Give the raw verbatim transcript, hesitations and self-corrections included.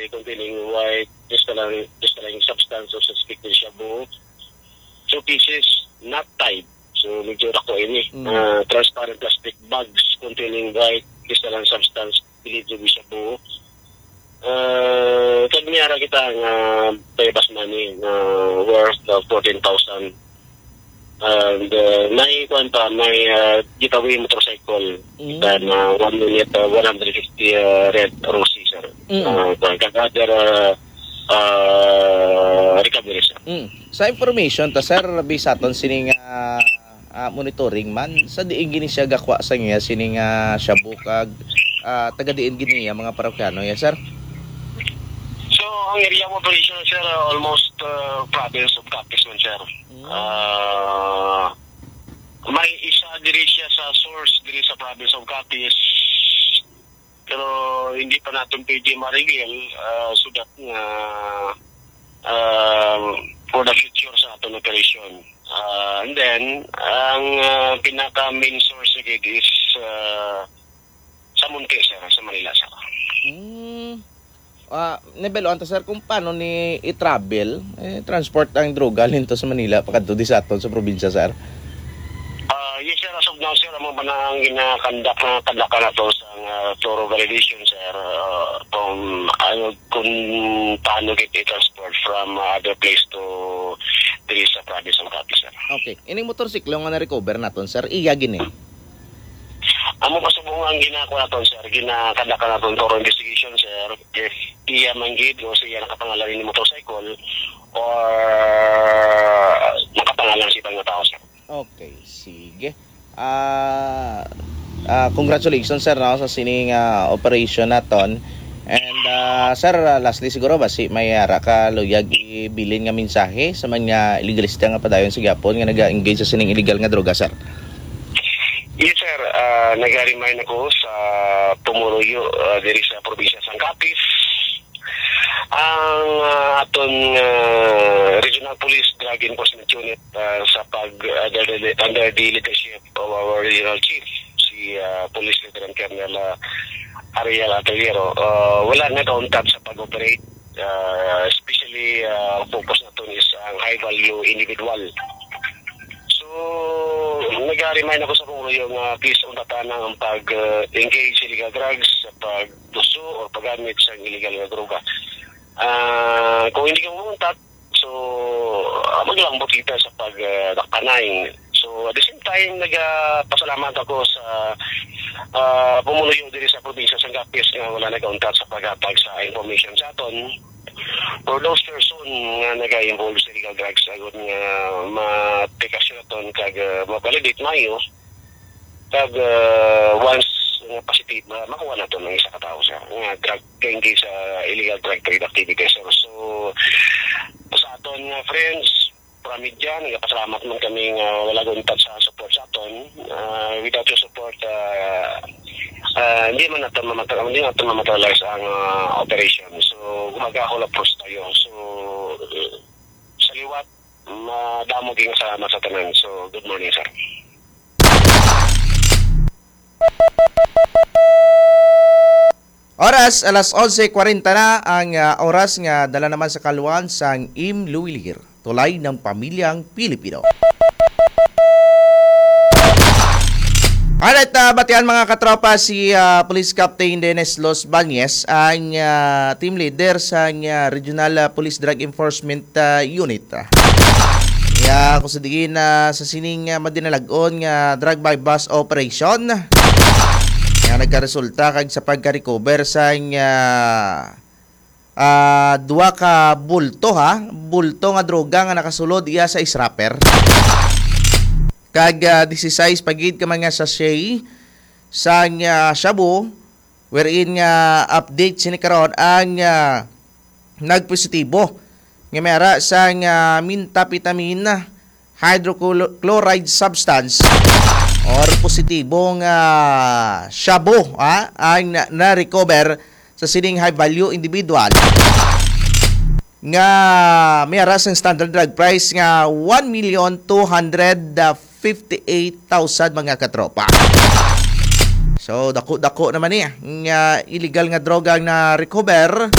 containing white crystalline, crystalline substance of suspected shabu. Two pieces, not tied. So, medyo dako ini. Mm. Ah, transparent plastic bags containing white crystalline substance believed to be shabu. Ah, kag may ara kita nga buy-bust money nga worth of fourteen thousand. And, uh, may, kuwan pa, may, uh, getaway motorcycle. Mm. Then, uh, one unit, uh, one hundred fifty, uh, red rosy, sir. Mm. Uh, kuwan, kag other, uh, uh, recovery, sir. Mm. Sa information ta, sir, based sa aton sining, ah, ah, monitoring man, sa diin gini siya gakwa sa niya sining, ah, shabu kag, ah, taga diin gini ang mga parokyano ya, sir? So, ang area of operation, sir, uh, almost, uh, province of Capiz man, sir. Mm. Ah, may isa diri siya sa source diri sa province of Capiz. Pero hindi pa naton pwede ma-reveal, ah, so that nga, ah, for the future sa aton operation. Ah, and then, ang, ah, pinaka main source gid is, ah, sa Munti, sir, sa Manila, sir. Hmm. Ah, nabaluan ta, sir, kung paano ni i-travel, eh, transport ang droga linto sa Manila, pakadto di sa aton sa probinsya, sir? Ah, yes, sir. As of now, sir, amo ba na ang ginakandak na kadlakan nato sa, ah, thorough validation, sir? Ah, kung ano, kung paano gid i-transport from, ah, other place to diri sa province of Capiz, sir. Okay. Ining motorsiklo nga na-recover naton, sir, iya gini? Amo pa subong ang ginako naton, sir. Ginakadaka naton thorough investigation, sir. If iya man gid o siya nakapangalan ni motorcycle or nakapangalan sa ibang nga tao, sir. Okay, sige. Ah, ah, congratulations, sir, no, sa sining, ah, operation naton. And, ah, sir, ah, lastly siguro, basi may ara ka luyag ibilin nga mensahe sa mga iligalista nga padayon sa gihapon nga naga-engage sa sining illegal nga droga, sir? Yes, sir. Ah, nag-remind ako sa pumuluyo, ah, diri sa probinsya sang Capiz. Ang, ah, aton, ah, Regional Police Drug Enforcement Unit, ah, sa pag, ah, under the, under the leadership of our Regional Chief, si, ah, Police Lieutenant Colonel, ah, Ariel Ateliero, ah, wala nag-untat sa pag-operate, ah, especially, ah, focus naton is ang high value individual. So, nag-remind ako sa pumuluyo nga please untatan ang pag, ah, engage sa illegal drugs, sa pagtuso o paggamit sa illegal nga droga. Ah, kung hindi ka mamuntat, so, ah, maglambot kita sa pag, ah, dakpanay. So, at the same time, nagapasalamat ako sa, ah, pumuluyo diri sa probinsya sang Capiz nga wala nag-untat sa paghatag sa information sa aton for those person nga naga-involve sa illegal drugs, agod nga ma-take action naton kag, ah, ma-validate maayo. Kag, ah, once nga positive, ma-, makuha naton ang isa ka tawo, sir, nga drug, engage sa illegal drug trade activities, sir. So, sa aton nga friends, from media, nagapasalamat man kami nga wala nag-untat sa support sa aton. Ah, without your support, ah, ah, hindi man naton mamata-, hindi naton mamaterialize ang, ah, operation. So, gumagahol approach tayo. So, sa liwat, madamo gyud nga salamat sa tanan. So, good morning, sir. Oras, alas onse kwarenta na ang, ah, oras nga dala naman sa kaluan sang Im Luwilir, tulay ng pamilyang Pilipino. Alright, ah, batian, mga katropa, si, ah, Police Captain Dennis Los Bañez, ang, ah, team leader sang, ah, Regional, ah, Police Drug Enforcement, ah, Unit. Ah, ya, kung sa diin, ah, sa sining, ah, madinalag-on nga drug buy-bust operation, nga nagkaresulta kag sa pagka-recover sang, ah, ah, duha ka bulto, ha, bulto nga droga nga nakasulod iya sa scrapper, kag, ah, disisais pa gid ka mga sachet sang, ah, shabu, wherein nga update sini karon ang, ah, nagpositibo nga may ara sang, ah, methamphetamine hydrochloride substance or positibo nga shabu, ha, ang na-, na-recover sa sining high value individual nga may ara sang standard drug price nga one million two hundred fifty-eight thousand, mga katropa. So, dako-dako naman ni nga illegal nga droga ang na-recover.